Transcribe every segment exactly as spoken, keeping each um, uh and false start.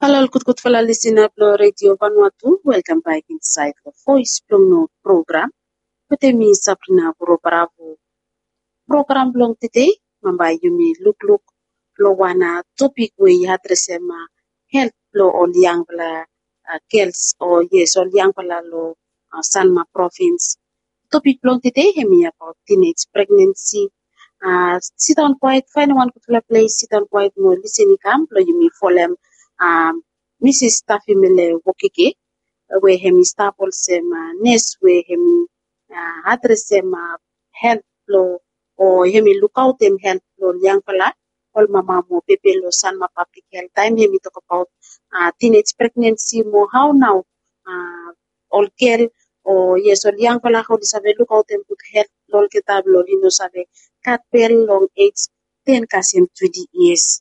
Halo ol gudgudfala lisina blong Redio Vanuatu, welkam bak insaed long Voes blong No program. Wetem mi Sabrina Vuro Bravo. Program blong tede, bambae yumi lukluk long wan topik we i adresem helt blong ol yangfala gels o yes, ol yangfala long Sanma provins. Topik blong tede hemi abaot tinej pregnensi. Sidaon kwaet, faenem wan gudfala ples, sidaon kwaet mo lisin i kam blong yumi folem Misis Tafimele Wokeke, we hemi stap olsem nes we hemi adresem helt blong o hemi lukaotem helt blong ol yangfala, ol mama mo pepe long Sanma Pablik Helt, taem hemi tokbaot tinej pregnensi mo hao nao ol gel o yes, ol yangfala oli save lukaotem gud helt blong olgeta blong oli no save gat bel long ej ten kasem twenti yias.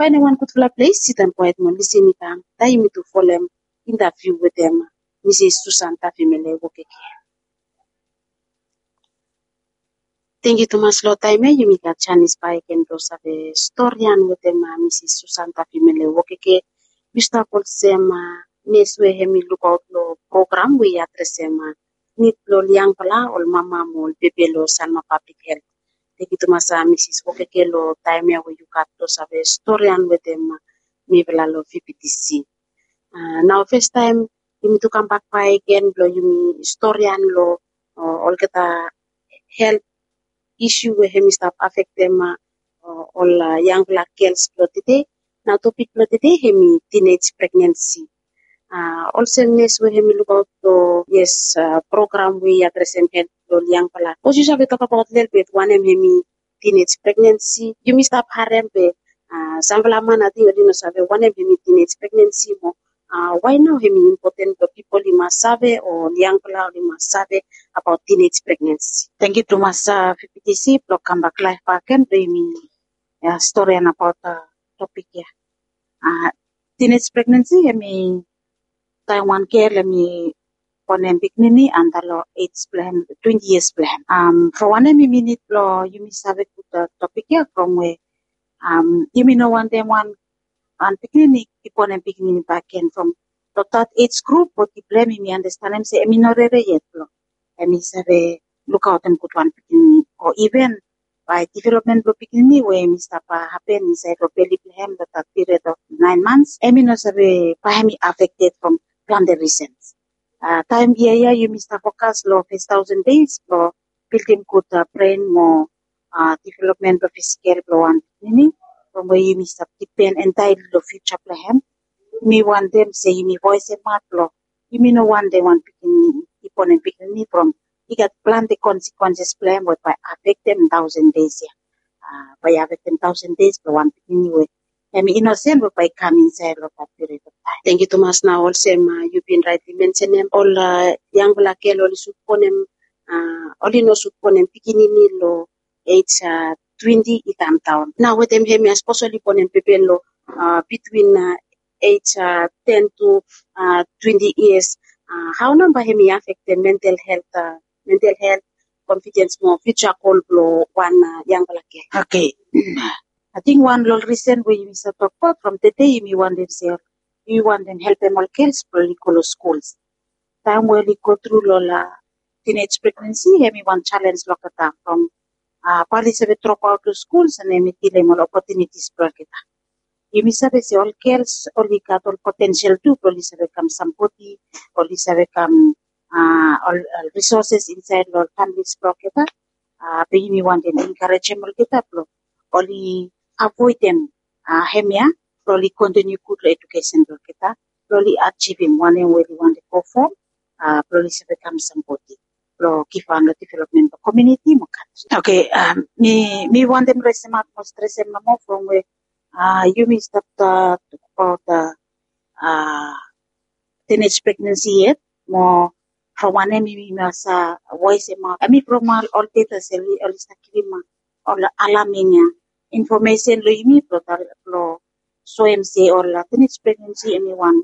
Faenem wan gudfala ples, sidaon kwaet mo lisin i kam taem yumi tu folem intaviu wetem Misis Susan Tafimele Wokeke. Tangkiu tumas long taem ya yumi gat janis bakegen blong save storian wetem Misis Susan Tafimele Wokeke. Yu stap olsem nes we hemi lukaot long program we i adresem nid blong ol yangfala, ol mama mo ol pepe long Sanma Pablik Helt. Tangkiu tumas Misis Wokeke long taem ya we yu gat blong save storian wetem mifala long VPTC. Nao fastaem yumi tu kambak bakegen blong yumi storian long olgeta helt isu we hemi stap afektem ol yangfala gels blong tede. Nao topik blong tede hemi tinej pregnensi. Olsem nes we hemi lukaot long yes, program we i adresem helt blong ol yangfala. Sapos yu save tokbaot lelebet wanem hemi tinej pregnensi, yumi stap harem be samfala man ating oli no save wanem hemi tinej pregnensi mo wai nao hemi impoten blong pipol i mas save o ol yangfala oli mas save abaot tinej pregnensi. Tangkiu tumas VPTC blong kambak laef bakegen blong yumi storian abaot topik ya. Tinej pregnensi hemi taem wan gel hemi bonem pikinini anda long ej blong hem twenti yias blong hem. From wanem yumi nid blong yumi save gud topik ya, from we yumi no wantem wan pikinini i bonem pikinini bakegen from long that age group, bodi blong hem yumi andastanem se hemi no rere yet blong hemi save lukaotem gud wan pikinini o iven bae developmen blong pikinini we hemi stap hapen insaed long beli blong hem long that period of nine months, hemi no save bae hemi afekted from plante risens. Taem yia ya yumi stap fokas long fes taosen deis blong bildim gud bren mo developmen blong fisikel blong wan pikinini, from we yumi stap dipen entaeli long fiuja blong hem. Yumi wantem se yumi voesemaot blong yumi no wantem wan pikinini i bonem pikinini from i gat plante konsekwenses blong hem we bae afektem taosen deis ya. Bae i afektem taosen deis blong wan pikinini we hemi inosen we bae i kam insaed long that period of taem. Tangkiu tumas. Nao olsem yu bin raetli mensenem, ol yangfala gel oli sud bonem, oli no sud bonem pikinini long ej twenti i kamdaon. Nao wetem hemia, sapos oli bonem pepe long bitwin ej ten tu twenti yias, hao nao bae hemi afektem mental helt, mental helt, konfidens mo fiuja gol blong wan yangfala gel? Oke. Ating wan long ol risen we yumi save tokbaot from tede, yumi wantem se yumi wantem helpem ol gels blong oli go long skuls taem we oli go tru long ol tinej pregnensi, hemi wan jalens long olgeta from bae oli save dropaot long skuls and hemi dilem ol opotunitis blong olgeta. Yumi save se ol gels oli gat ol potensel tu blong oli save kam sambodi, oli save kam ol risoses insaed long ol familis blong olgeta. Be yumi wantem enkarejem olgeta blong oli avoedem hemia, blong oli kontiniu gud long edukesen blong olgeta, blong oli ajivim wanem we oli wantem go fo, blong oli save kam sambodi blong givhan long developmen blong komuniti mo kantri. Oke, mi wantem resemaot mo stresem nomo from we yumi stap tokbaot tinij pregnensi yet, mo from wanem yumi mas voesemaot, hemi from ol data se oli stap givim ol alarming infomesen long yumi blong soem se ol tinij pregnensi hemi wan